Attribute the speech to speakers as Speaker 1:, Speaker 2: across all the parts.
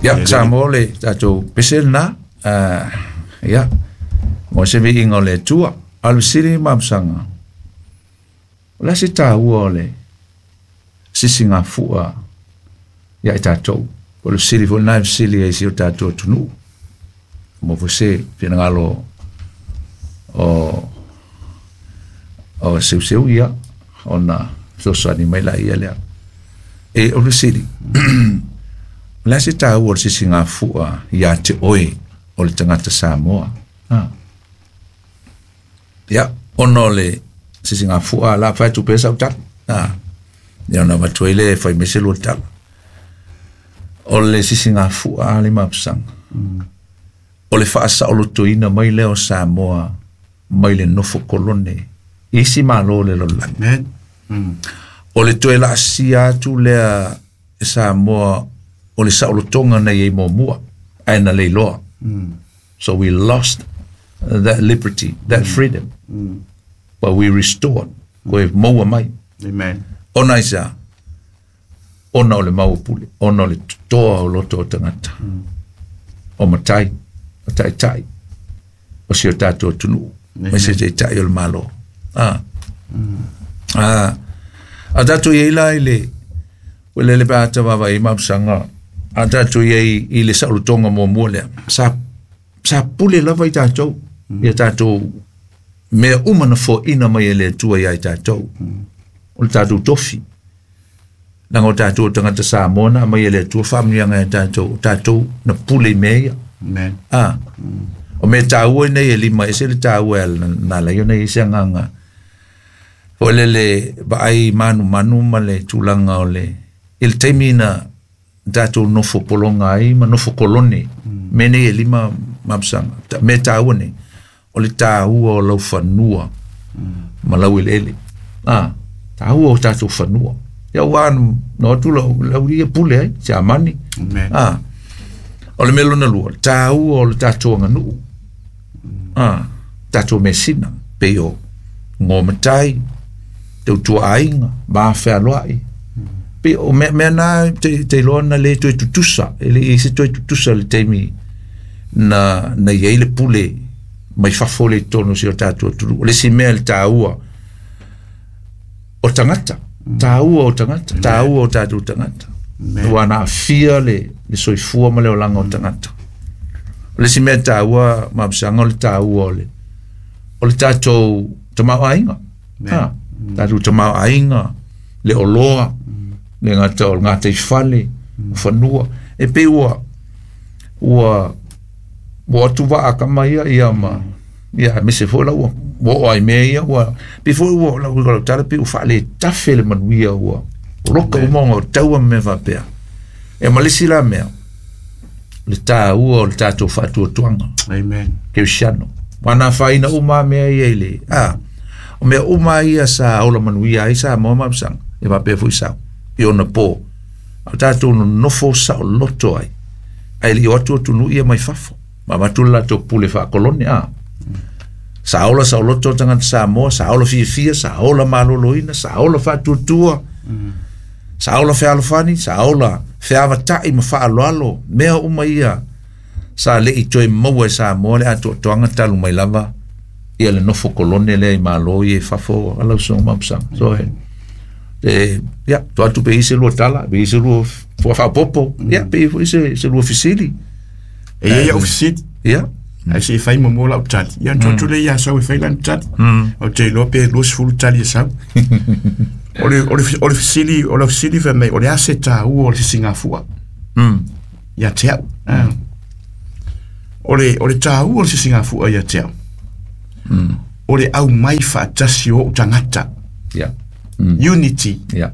Speaker 1: Ia, Samoa le tatou pese lena. Ia, mo se viiga o le Atua. A o le fesili ma Mapusaga, o le a se taua o le sisigafua ia i tatou? O le fesili foi lena e fesili ai i si o tatou atunuu. Mo foi se finagalo o Seuseu ia, ona fesoasoani mai laia lea. E o le fesili, o le a se taua o le sisigafua ia te oe o le tagata Samoa? Ia, ona o le sisigafua la fai atu pea sau tala. Ia ona avatu ai lea e fai mai se lua tala. O le sisigafua le Mapusaga. O le faasaolotoina mai lea o Samoa mai le nofo kolone i isi malo o le lalolagi. O le toe laasia atu lea e Samoa o le saolotoga na i ai muamua, ae na leiloa. So we lost that liberty, that freedom. But we restored. Koe maua mai.
Speaker 2: Amen.
Speaker 1: Ona aisea, ona o le mau o pule, ona o le totoa o loto o tagata, o matai, o taitai, o si o tatou atunuu, mai se taitai o le Malo. A tatou i ai la i le, ua lele pe a ta vaavaai Mapusaga, a tatou i ai i le saolotoga muamua lea, sa pule lava i tatou, ia tatou mea uma na foaina mai e le Atua ia i tatou, o le tatou tofi. Leaga o tatou o tagata Samoa na aumai e le Atua faamanuiaga ia tatou, o tatou na pule i mea ia.
Speaker 2: Amen.
Speaker 1: O mea taua nei e lima ese le taua e na ala ai ona i ai se agaga. Foi lele vaai manumanu ma le tulaga o le, i le taimi na tatou nofo pologa ai ma nofo kolone, mea nei e lima Mapusaga, mea taua nei, o le taua o lau fanua ma lau eleele. Taua o tatou fanua. Ia ua no atu lau ia pule ai, Siamani. O le mea lona lua, taua o le tatou aganuu. Tatou mesina, pei o ngō matai, tautua aiga, ma fealoai. Pei o mea na te iloa na le toe tutusa, e le i se toe tutusa le taimi na i ai le pule mai fafo le tonu si o tatou atunuu. O le isi mea le taua o tagata, taua o tagata, taua o tatou tagata. Ua na aafia le soifua ma le olaga o tagata. O le isi mea taua, Mapusaga, o le taua o le tatou tamaoaiga. Tatou tamaoaiga, le oloa, le gata o le gataifale, o fanua. E pei ua atu vaa kama ia ia ma ia aemaise foi la ua oo ai mea ia ua pei foi ua lau tala pei ua faaletafe le manuia ua loka uma ona o taua ma mea faapea. E ma le isi la mea, le taua o le tatou faatuatuaga.
Speaker 2: Amen.
Speaker 1: Kerisiano. Ua na afaina uma mea ia i le o mea uma ia sa ola manuia ai Samoa Mapusaga, e faapea foi sau i ona po. A tatou nonofo saoloto ai, ae le i o atu atunuu ia mai fafo. Ma avatu le latou pule faakolone. Sa ola saoloto tagata Samoa, sa ola fiafia, sa ola maloloina, sa ola faatuatua, sa ola fealofani, sa ola feavatai ma faaaloalo, mea uma ia sa le i toe maua e Samoa le atoatoaga talu mai lava ia le nofo kolone lea i malo ia i fafo a lau susuga Mapusaga. So ia, to atu pe i se lua tala, pe i se lua faapopo, ia, pe i foi se lua fesili.
Speaker 2: E ia au fesili.
Speaker 1: Ia.
Speaker 2: Ai se fai mo lau tali. Ia to atu le ia sau e fai lana tali. O te iloa pe 20 tali e sau. O le fesili, o le fesili fai mai, o le a se taua o le sisigafua. Ia te au. O le taua o le sisigafua ia te au. O le au mai faatasi o ou tagata.
Speaker 1: Yeah.
Speaker 2: Unity.
Speaker 1: Yeah.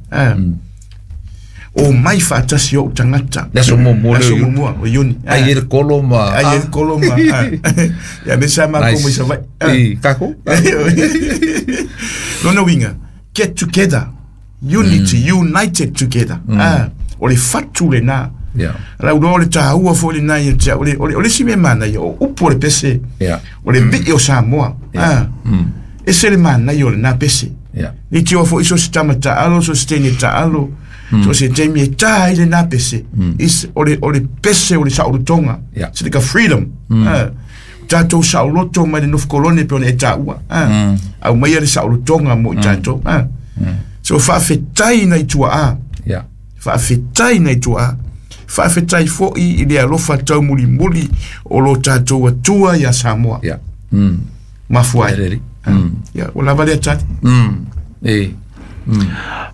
Speaker 2: O mai faatasi o ou tagata.
Speaker 1: Le aso muamua
Speaker 2: le aso muamua o Iuni.
Speaker 1: Ai e le kolo ma
Speaker 2: ai e le kolo ma. Ia me sa ma ko mai sa vai.
Speaker 1: I kako.
Speaker 2: Lona uiga, get together. Unity, united together. O le fatu lena.
Speaker 1: Yeah.
Speaker 2: Lau loa o le taua foi lena ia te au. O le isi mea manaia, o upu o le pese.
Speaker 1: Yeah.
Speaker 2: O le vii o Samoa. E se le manaia o lena pese.
Speaker 1: Yeah.
Speaker 2: Ni te oa foi so se tama taalo, so se teine taalo. So se taimi e tā i le nā pese. Is, o le pese o le saolotoga. Se le ka freedom. Tātou saoloto mai le nofo kolone pe ona e tāua. Au mai le saolotoga mo i tātou. So whaafetai nei tua a. Whaafetai nei tua a. Whaafetai fo i le alofa tau muli muli o lo tātou atua ia Samoa. Mafuai. Ia, o lava lea tali.
Speaker 1: E.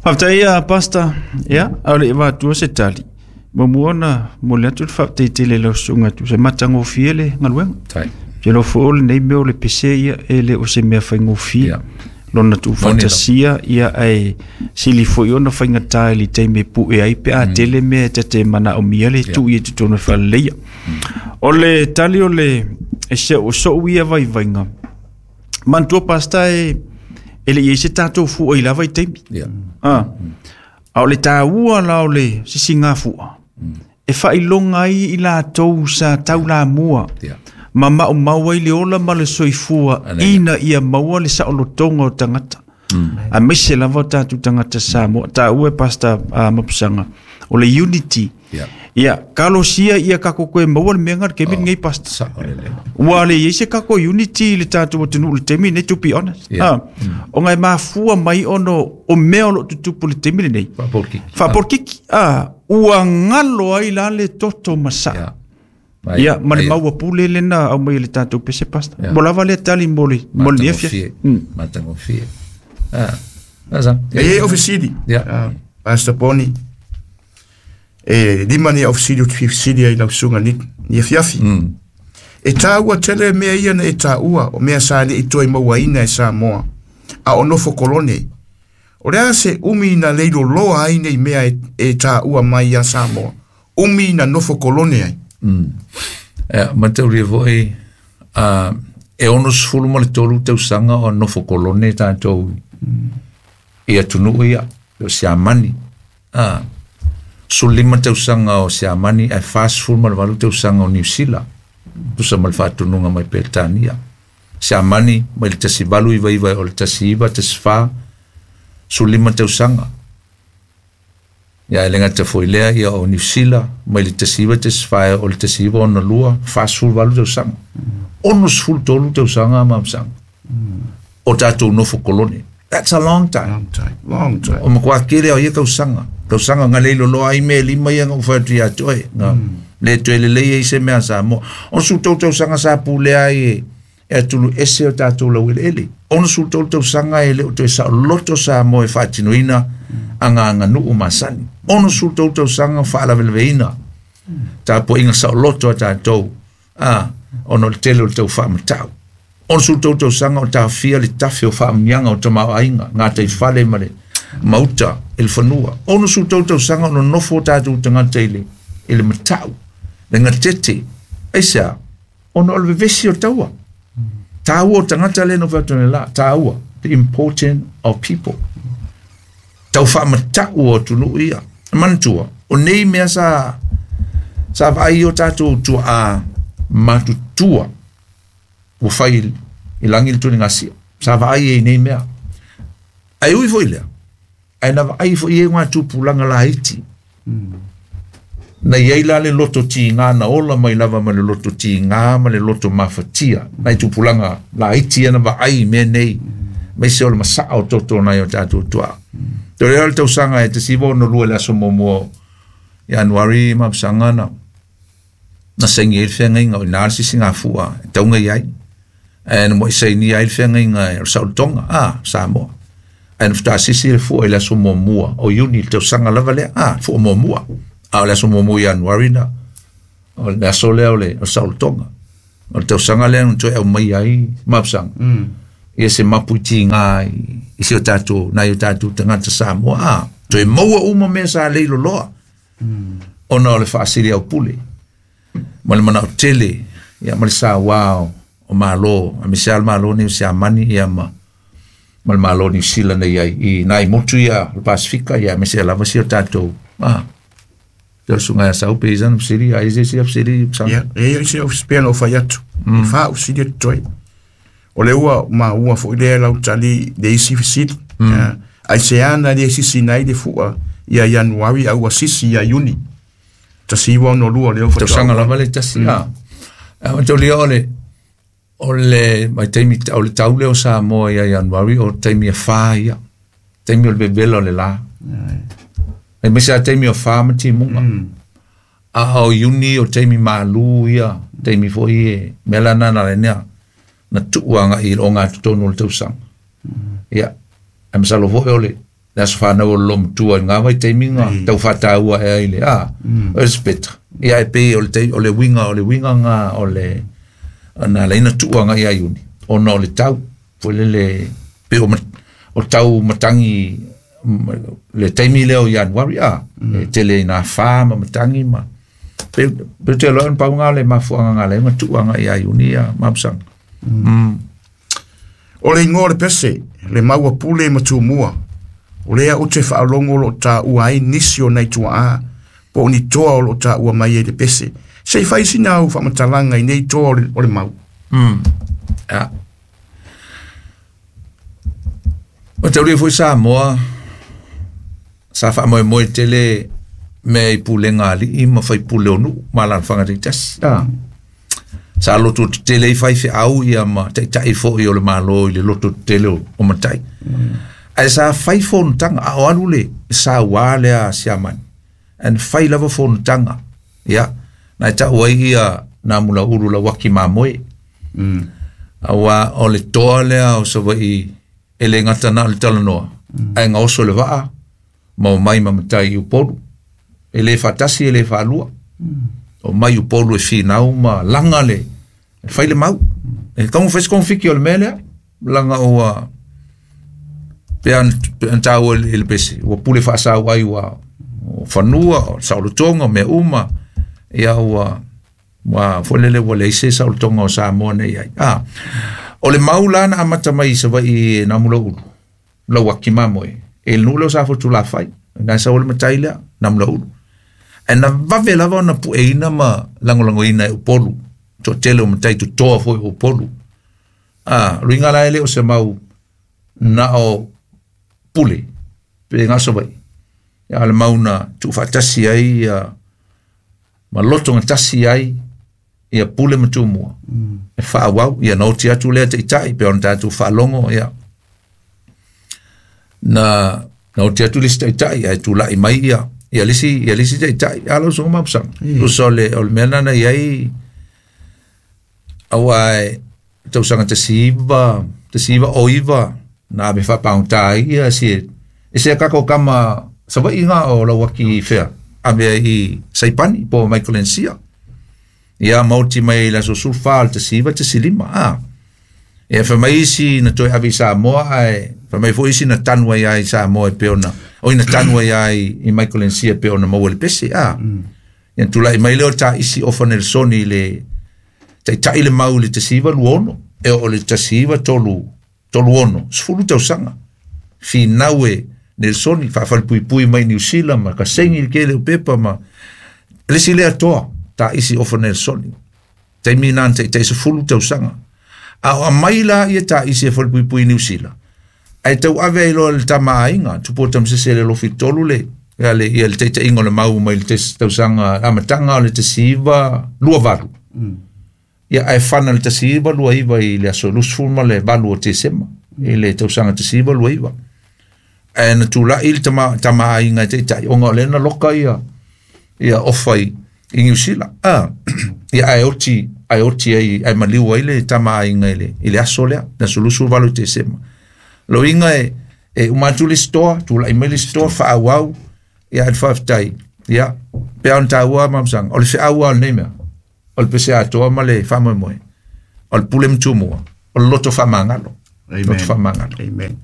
Speaker 3: Whafetai ia, Pastor. Ia, au le iwa atua se tali. Mo ona mo le atu le whaafetai lau sunga tu se matangofie le ngaluenga.
Speaker 1: Tai.
Speaker 3: Te lo fo le nei mea o le pese ia e le o se mea whaingofie. Lona tu fantasia ia ai sili foi ona whaingatai li teime pu e ai pe a tele mea te te mana o mia le tu ia te tōna whaleia. O le tali o le e se o so uia vai vainga. Mantua pasta e le i se tātou fua i lava i teimi. A o le tāua la o le sisi ngā fua. E whailonga ai i la tau sa tau la mua. Ma mau mau ai le ola ma le soifua ina ia maua le saolotoga o tagata. A maise lava o tatou tagata Samoa. Taua e Pastor Mapusanga. O le unity. Ia, kalosia ia kako koe maua le mea ngā le kemi ngei Pastor. Ua le iei se kako unity le tātou atunuu le temi nei, to be honest. O ngai mafua mai ono o mea o lo tutupu le temi le nei. Whaaporkiki. Ua ngalo ai la le toto masa. Ia, ma le maua pule le na au mai le tātou pese Pastor. Mo lava le tali mo le nefia.
Speaker 1: Matangofie. Asa.
Speaker 2: E ofisili. Pastor Poni. E lima ni ofisili o te fisili ai lau sunga ni fiafi. E tāua tele mea ia na e tāua o mea sa le i toi mauaina e Samoa. A o nofo kolone. O lea se umi na leilo loa ai nei mea e tāua mai ia Samoa. Umi na nofo kolone ai.
Speaker 1: Matauria foi e 63 ma le 3 tausaga o nofo kolone tātou i atunuu ia o Siamani. 15 tausaga o Siamani ae 48 tausaga o Niu Sila. Tusa ma le faatunuga mai Peretania. Siamani mai le 1899 o le 1914 15 tausaga. Ia e le gata foi lea ia o Niu Sila mai le 1914 o le 1962 48 tausaga. 63 tausaga ma o tātou nofo kolone. That's a long time.
Speaker 2: Long time. Long time.
Speaker 1: O makoa kele o ia tausaga. Tausaga ngā leilo loa ai me lima ia ngā uwhatu ia toe. Ngā le toe le lei e se mea sa mo. O su tau tausaga sa pule ai e atulu ese o tātou lau ele ele. Ono su tau tausaga e le o toe sa loto sa mo e whaatinoina a ngā ngā nuu masani. Ono su tau tausaga whaalaweleweina. Tā po inga sa loto a tātou. Ono le tele o le tau whaamatau. Ono su tau tausaga o tā whia le tawhi o whaamnianga o tamau ainga. Ngā tei whale ma le mauta e le whanua. Ono su tau tausaga ono nofo o tātou tangata i le matau. Le ngā tete. Aisea, ono o le vevesi o taua. Tāua o tangata le no whaatone la. Tāua. The importance of people. Tau whaamatau o tunu ia. Mantua. O nei mea sa vai o tātou tua a matutua. Ua whai i langi le tuni ngasia. Sa vai e nei mea. Ai ui foi lea. Ai na vai foi e ngā tupulanga la iti. Na iei la le loto ti ngā na ola mai lava ma le loto ti ngā ma le loto mafatia. Na i tupulanga la iti ana vai mea nei. Mai se o le masaa o toto nai o tātou tua. Te rea le tausaga e te siwa ono lua le aso momoa Januari mapsanga na. Na sengi e le whengainga o nā le sisi ngā fua e taunga iai. E na mo i seini ai le whengainga e o Sautoga, Samoa. E na whata sisi le fua i le aso momoa o Iuni le tausaga lava lea, fua momoa. A o le aso momoa Januari na, o le aso lea o le Sautoga. O le tausaga lea na toe au mai ai mapsanga. Ia se mapuiti ngā i se o tātou, nai o tātou tangata Samoa. Toe maua uma mea sa leilo loa. Ona o le whaasiri au pule. Ma le mana o tele, ia ma le sa wao o malo, a me se al malo ni o se amani ia ma le malo ni sila nei ai i nai motu ia le Pasifika ia me se lava si o tātou. Te o sunga ia sau pe izan siri ai se si siri sa.
Speaker 2: Ia, e se o spena o faiatu. Fa o siri toi. O le ua ma ua fo ile lau tali le isi fisili. Ai se ana le sisi nai le fua Ia Ianuari a ua sisi ia Iuni. 1962 lea faatoa.
Speaker 1: Tausaga lava le tasi a. A mataulia o le mai taimi o le tau lea o Samoa ia Ianuari o taimi e fa ia. Taimi o le vevela o le la. E me sa taimi o fa ma timuga. A o Iuni o taimi malu ia, taimi foi e mea la na le nea. Na tuuanga i o ngā totonu o le tausaga. Ia, e masalo foi o le aso whanau o lo matua i ngā vai taimi ngā tau whātāua e ai le, o le speta. Ia e pei o le winga, ngā o le, na leina tuuanga i a Iuni. Ona o le tau, foi le pe o tau matangi, le taimi leo i Januari, e tele i nā whā ma matangi ma. Pe te loan pau ngā le mafuanga ngā le, ngā tuuanga i a Iuni a mapsanga.
Speaker 2: O le ingoa le pese, le maua pule ma tumua. O lea o te whaalongo lo ta ua ai nisi o nei tua a, po o ni toa o lo ta ua mai e le pese. Se i whaisi nā u whamatalanga i nei toa o le mau.
Speaker 1: A. O te uri fui Samoa, sa wha moe moe tele me i pulenga ali i ma whai pule o nu, ma lan whanga te tasi. Sa loto te tele i whai whi au ia ma taitai fo i o le malo i le loto te tele o matai. Ai sa whai whonutanga, a o alu le sa wā lea siamani. An whai lava whonutanga. Ia, nai tau ai ia nā mula uru la waki mā moe. A wā o le toa lea o sa wai e le ngata nā le talanoa. Ai ngā oso le waa, ma o mai ma matai i upolu. E le whatasi e le whaalua. O mai upolu e whinau ma langa le, e whai le mau. E kaungu whaisi konfiki o le mea lea, langa o pe an tāua i le pese. Ua pule whaasau ai ua whanua, o saolotonga, mea uma. Ia ua wholele ua leise saolotonga o Samoa nei ai. O le mau lana amata mai sa wai nā mula ulu. Lau waki mamoe. E le nule o sa fotu la whai. Nā sa ole matai lea, nā mula ulu. E na vave lava ona pu e ina ma langolango ina e upolu. To tele o matai tu toa foi o upolu. Ruinga la ele o se mau na o pule. Pe ngaso vai. Ia le mau na tuufaatasi ai ia ma loto tasi ai ia pule ma tumua. E whaawau, ia noti atu lea te itai, pe ona tātou whaalongo, ia. Na oti atu lisi te itai, ai tūlai mai ia, ia lisi te itai, ala usunga mapusanga. Usa o le mea nana iai, awa e tausanga te siiva o iwa, na me whapaunta ia, si e se kako kama, sawa inga o lawaki whea, a mea i Saipani, po Michael Encia. Ia mauti mai la so sulfa al te siva te silima. E fa mai isi na toi avi Samoa ai, fa mai foi isi na tanu ai ai Samoa e pe ona. O ina tanu ai ai i Michael Encia pe ona maua le pese. Ia tulai mai leo ta isi ofa Nelsoni le tai le mau le te siva luono. E o le te siva tolu ono. Sefulu tausanga. Finaue Nelsoni whaafalipui mai New Zealand ma ka sengi le kele o pepa ma lesi lea toa ta isi ofa Nelsoni. Taimi nā te sefulu tausanga. A o mai la ia ta isi e whalipuipui New Zealand. Ai tau ave ai loa le tama ainga, tupo tamsese le lofi tolu le, ia le teita ingo le mau mai le tausanga, amatanga o le te siva lua valu. Ia ai whana le te siva lua iwa i le aso lusful ma le valu o te sema, i le tausanga te siva lua iwa. Ai na tūlai le tama ainga te itai, o ngā lena loka ia ofa i New Zealand. Ia ai oti ai maliu ai le tama ainga i le aso lea, na sulusu valu te sema. Lo inga e umatu le stoa, tūlai mai le stoa, whaawau, ia al whaftai. Ia, pe an tāua mamsanga, o le whaawau o le mea, o le pese atoa ma le whamoemoe, o le pule mtumua, o le loto whamangalo.
Speaker 2: Amen.
Speaker 1: Loto whamangalo.
Speaker 2: Amen.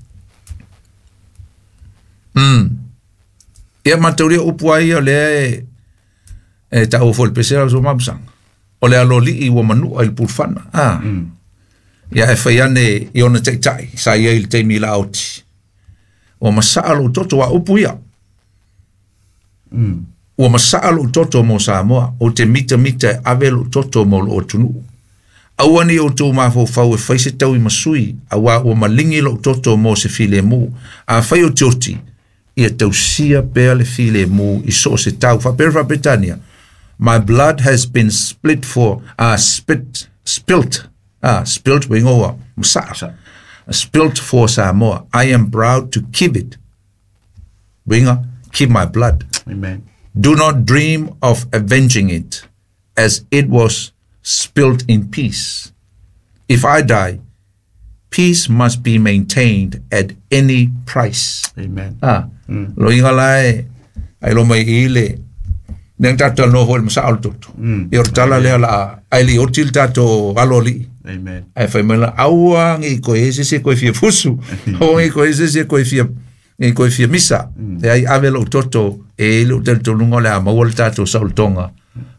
Speaker 1: Ia matauria upu ai o lea e tāua fo le pese au so mamsanga. O le alo li i ua manua i le pulfana. Ia e whai ane i ona taitai, sa ia i le teimi la oti. Ua masaa lo toto wa upu ia. Ua masaa lo toto mo Samoa, o te mita mita e ave lo toto mo lo otunu. Aua ni o tō mawhau e whai se tau i masui, a wā ua malingi lo toto mo se file mu. A whai o te oti, Ia tausia pea le filemu i so o se tau. Faapea le Faapetania, my blood has been split for, spilt, spilt ua igoa, masaa, spilt for Samoa. I am proud to keep it. Uiga, keep my blood.
Speaker 2: Amen.
Speaker 1: Do not dream of avenging it, as it was spilt in peace. If I die, peace must be maintained at any price.
Speaker 2: Amen.
Speaker 1: Lo inga lai, ai lo mai ile, neng tato no hoi masa al toto. I o tala lea la, ai li otil tato alo li.
Speaker 2: Amen.
Speaker 1: Ai fai mai la, aua ngi koe ese se koe fia fusu. Aua ngi koe ese se koe fia, ngi koe fia misa. E ai ave lo toto, e lo tel tolunga le a maua le tato sa ul tonga.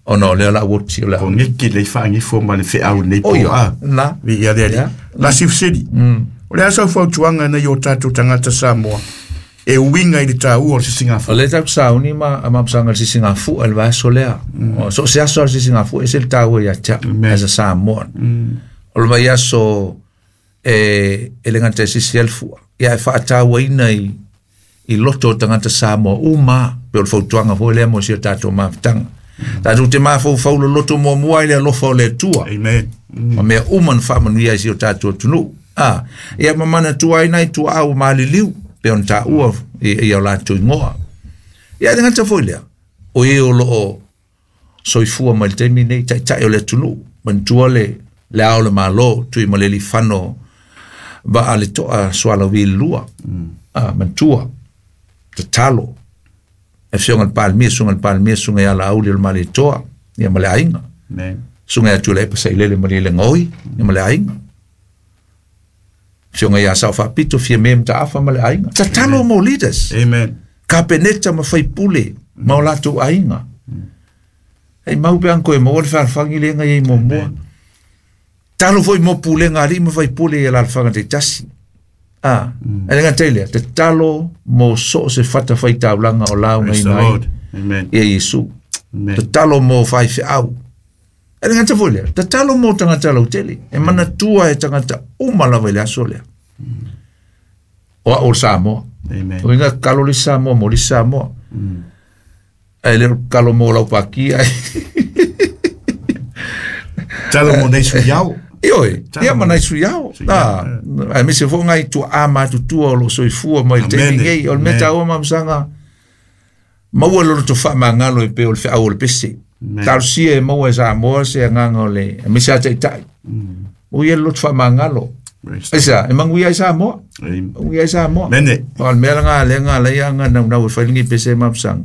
Speaker 1: O no, lea la uoti o lea.
Speaker 2: O ngeki le whaangifo ma le wheau nei
Speaker 1: O
Speaker 2: po
Speaker 1: ia,
Speaker 2: a.
Speaker 1: na.
Speaker 2: Vi ia le ali.
Speaker 1: Ia.
Speaker 2: La sifseli. O le asa fautuanga na i o tātou tangata Samoa. E uinga i le tāua o le sisingafu.
Speaker 1: O le tau sauni ma a mapsanga le sisingafu al vaso lea. O so se aso le sisingafu e se le tāua ia tia as a Samoan. O le mai aso e le ngata e sisi alfua. Ia e whaataua ina i loto o tangata Samoa uma pe o le fautuanga foi lea mo si o tātou mafutanga. Tātou te mafau lo loto mua mua i le alofa o le Atua.
Speaker 2: Amen.
Speaker 1: Ma mea uma na whaamanuia i si o tātou atunuu. Ia mamana tua ai nai tua au maliliu pe ona tāua i o lātou ingoa. Ia le ngata foi lea. O e o loo soifua mai le taimi nei, taitai o le atunuu. Manatua le ao le malo, tui ma le lifano va a le toa sualawi le lua. Manatua, tatalo. E fionga le palmia, sunga le palmia, sunga ia la auli o le maletoa, ia ma le aiga.
Speaker 2: Amen.
Speaker 1: Sunga ia tula e pasa i lele ma le ngoi, ia ma le aiga. Fionga ia sao whapito, fia me mta afa ma le aiga. Tatalo mo leaders.
Speaker 2: Amen.
Speaker 1: Kapeneta ma whaipule, ma o latou aiga. Hei mau pe anko e maua le whaalwhangi le ngai ei momoa. Talo foi mo pulenga ali ma whaipule i la alwhanga te tasi. E lenga teilea, te talo mo so se whata whai taulanga o lau ngai
Speaker 2: Praise the
Speaker 1: nai.
Speaker 2: Lord. Amen.
Speaker 1: Ia Yesu.
Speaker 2: Amen.
Speaker 1: Te talo mo whai whiau. E lenga te foi lea, te talo mo tangata lautele. E mana tua e tangata uma lava i le aso lea. O a o Samoa.
Speaker 2: Amen.
Speaker 1: O inga kalo le Samoa, mo le Samoa. Ai le kalo mo lau pakia.
Speaker 2: Talo mo nei sui au.
Speaker 1: Ioi,
Speaker 2: Talo
Speaker 1: ia
Speaker 2: mo-
Speaker 1: mana sui au.
Speaker 2: Sui au,
Speaker 1: Ai mese fo ngai tua a matutua o lo soifua mai le taimi
Speaker 2: Amen.
Speaker 1: nei. O le
Speaker 2: Amen.
Speaker 1: mea tāua mamsaga, maua lo loto whaamangalo e pe o le wheau o le pese.
Speaker 2: Amen.
Speaker 1: Talosia e maua e Samoa se anganga o le, e mese a taitai. O ia le loto whaamangalo.
Speaker 2: Praise the
Speaker 1: Aisa, e manguia i Samoa.
Speaker 2: Amen.
Speaker 1: Manguia i Samoa.
Speaker 2: Mene.
Speaker 1: O le mea langa le nga le nga nau nau e whailingi pese e mamsaga.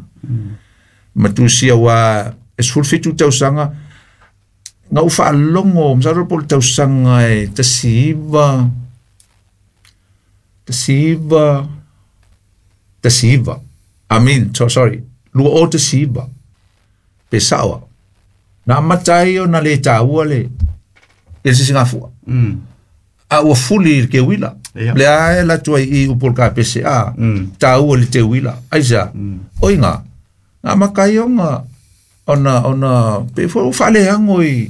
Speaker 1: Matusia wa e 17 tausaga nga u whaalongo, masalo po le tausaga e 19, I mean, so, sorry, 2019, pe sawa. Na amata ai o na le tāua le, e sisingafua. A ua fuli le ke wila.
Speaker 2: Ia.
Speaker 1: Le ae la tua i upol ka pese a, tāua le te wila. Aisa, oi ngā, ngā makai o ngā, ona, pe fo, o whaalehango i,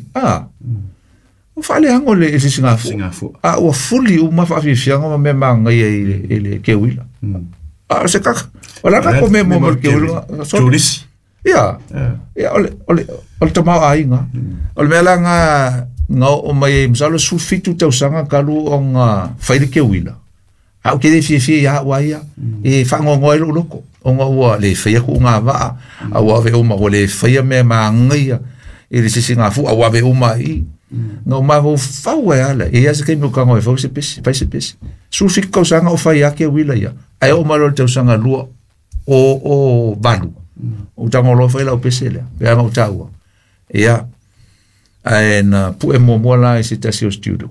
Speaker 1: o whaalehango le e sisingafua.
Speaker 2: Singafua.
Speaker 1: A ua fuli u ma whaafifianga ma me maangai i le ke wila. A, o se kaka, o la kako me mo mo le ke wila. Sorry.
Speaker 2: Tulisi.
Speaker 1: Ia, ia, o le tamau aiga. O le mea la ngā, ngā o mai e masalo 17 tausaga kalu o ngā whai le ke wila. A o ke le fiafia ia ua ia, e whangongoa i lo loko. O ngā ua le whaia ku ngā waa, a ua ave uma, ua le whaia mea maangaia, i le sisi ngā fu, a ua ave uma i. Ngā o maho whau e ala, e ia se keimi o kango e whau se pesi, whai se pesi. 17 tausaga o whai ake wila ia. Ai o malo le tausaga lua o valu. O tanga loa whai lau pese lea, pe anga o tāua. Ia, ai na pue mua la i se tasi o studio.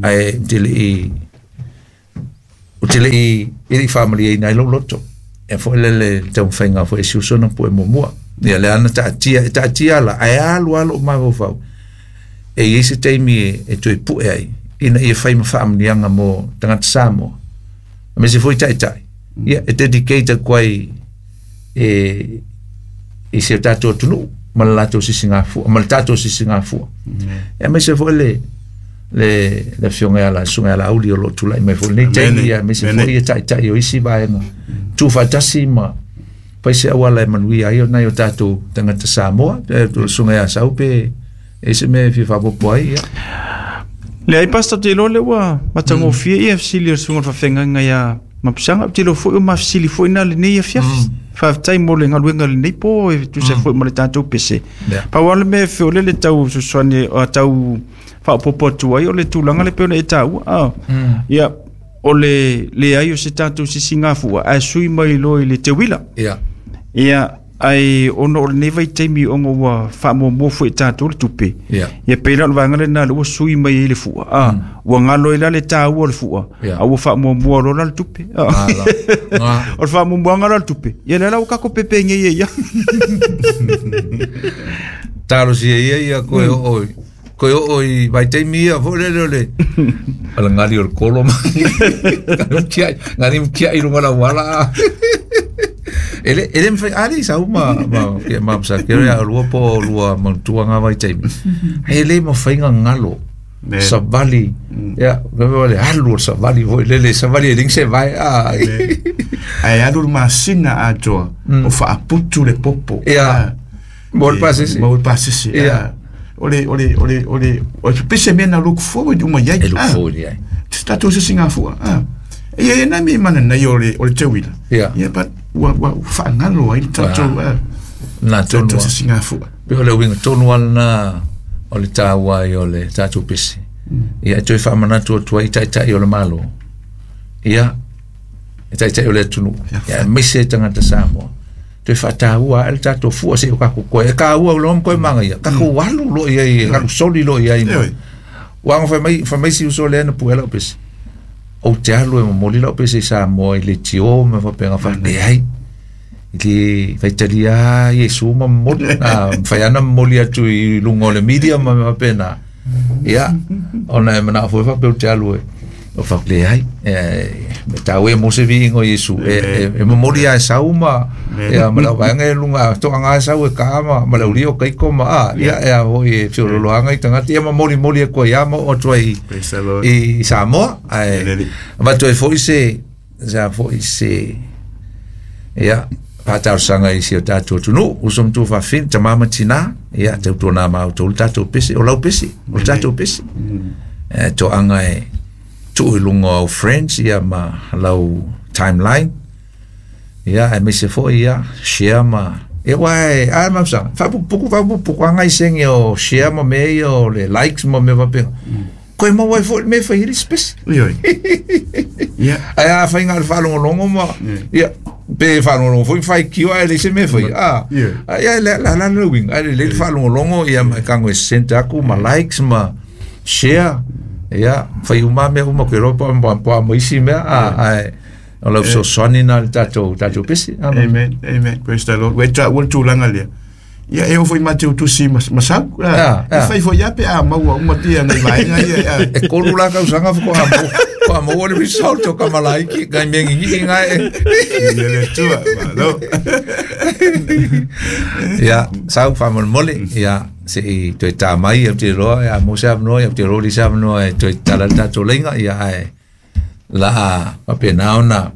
Speaker 1: Ai te le i, o te le i, i le family e nai loto. E fo le le te whainga fo e si usona pue mua. Ia le ana taatia la, ai alu alu o maho whau. E i se taimi e tui pue ai, ina ia whai ma whaamnianga mo tangata Samoa. A me se fo i taitai. Ia, e dedicate koe e i se tātou tunu, ma le latou sisingafua, ma le tātou sisingafua. E me se fo le, Le le afioga ia la susuga ia Laauli o loo tula'i mai foi lenei taimi ia aemaise foi ia ta'ita'i o isi vaega tuufaatasi ma fai se auala e manuia ai o nai o tatou tagata Samoa susuga ia Sau pe e se mea e fia faapopo ai ia.
Speaker 3: Leai Pastor, ou te iloa lea ua matagofie ia fesili o le susuga o le faafeagaiga ia Mapusaga. Ou te iloa foi o mafesili foi na lenei afiafi. Faafetai mo le galuega lenei po e tusa foi ma le tatou pese. Pau lava le mea e feole le tau fesoasoani tau faaopoopo atu ai o le tulaga le pei ona e taua. Ia, o le leai o se tatou sisigafua ae sui mai loa i le teuila. Ia, ai ona o lenei vaitaimi ona ua faamuamua foi e tatou le tupe. Ia pei la o le vaega lena lea ua sui mai ai le fua. Ua galo ai la le taua o le fua, a ua faamuamua loa la le tupe. O le faamuamuaga la o le tupe. Ia lea la ua tatou pepegei ai ia.
Speaker 1: Talosia ia ia koe oo koe oo i vaitaimi ia foi lele o le o le gali o le kolo ma gali mtiai i luga o le auala. E le e le mafai ali sau ma ma ke ma sa ke ia lua po lua manutua ngā vaitaimi. E le mafai galo savali ia le le alu o le savali foi lele savali e ling se vai a.
Speaker 2: Ae alu le masina atoa o faaputu le popo.
Speaker 1: Ia. Mo le pasese.
Speaker 2: Mo le pasese.
Speaker 1: Ia.
Speaker 2: O le o le o le o le o le pese mea na look forward uma iai.
Speaker 1: E look forward iai.
Speaker 2: Se tatou sisigafua. Ia ia nai mea mana nei o le teuila.
Speaker 1: Ia.
Speaker 2: Ia but ua ua faagalo ai le tatou
Speaker 1: Na tonu.
Speaker 2: Tatou sisigafua.
Speaker 1: Pe o le uiga tonu lava lena o le taua ai o le tatou pese. Ia e toe faamanatu atu ai i taitai o le Malo. Ia e taitai o le atunuu. Ia aemaise e tagata Samoa. Toe faataua ae le tatou fua seia o tatou koe. E taua loa ma koe magaia. Tatou alu loa i ai, alu soli loa i ai. Ua aga fai mai si uso lea na pue lau pese. Ou te alu e momoli lau pese i Samoa i leitio ma faapena faaleai. I le faitalia Iesu ma momoli. Mafai lava ona momoli atu i luga o le media ma mea faapena. Ia, ona e manao foi faapea ou te alu e o faapea leai. E taua ia mo se viiga o Iesu. E momoli lava e sau ma ia ma le auvaega e luga toaga e sau e ka ma le aulia o kaiko ma a ia e a foi e feolooloaga i tagata ia ma molimoli atu ai lava ma oo atu ai i Samoa. Ae avatu ai foi se sa foi se ia faatalosaga i si o tatou atunuu uso ma tuafafine tama ma tinā ia tautuana ma outou le tatou pese o lau pese o le tatou pese e toaga e tuu i luga o au friends ia ma lau timeline ia aemaise foi ia share ma ia ua e a ma sa faapupuku faapupuku aga i sege o share ma mea ia o le likes ma mea faapena koe maua ai foi le mea e fai ai le isi pese.
Speaker 2: Ioe. Ia.
Speaker 1: Ae a fai na o le faalogologo ma ia pe faalogologo foi ma faitio ae leai se mea e faia. A ia le la la le uiga ae lelei le faalogologo ia ma e tago e send atu ma likes ma share ia fai uma lava mea uma ou te iloa po o a ma isi mea ae o lau fesoasoani lena i le tatou tatou pese.
Speaker 2: Amen. Amen. Praise the Lord. Ua e taua le tulaga lea. Ia e oo foi ma te utusi ma sau. E fai foi ia pe a maua uma tia nei vaega ia.
Speaker 1: E tolu la tausaga faatoa maua faatoa maua le result o Kamalaiki ngai mea gigii na e.
Speaker 2: Ia le Atua, malo.
Speaker 1: Ia, sau faamolemole, ia se i toe ta mai ou te iloa ia maua se avanoa, ia ou te iloa ua leai se avanoa e toe tatala ai le tatou laina, ia ae la a faapena ona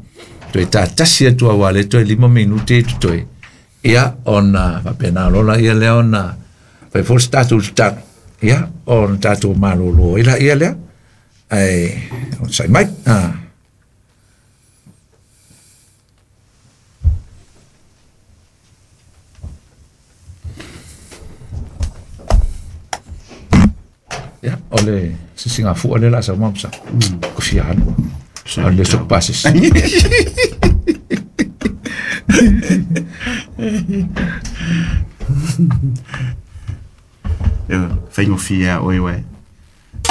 Speaker 1: toe tatasi atu aua o lea e toe 5 minute totoe. Ia, ona faapena loa laia lea ona fai foi se tatou tatalo, ia, ona tatou malolo ai laia lea, ae onosai mai. Ia, o le sisigafua lea o le a sau ma sa. Ko fia alu. O le soku pasese.
Speaker 2: Ia, faigofie a oe uae.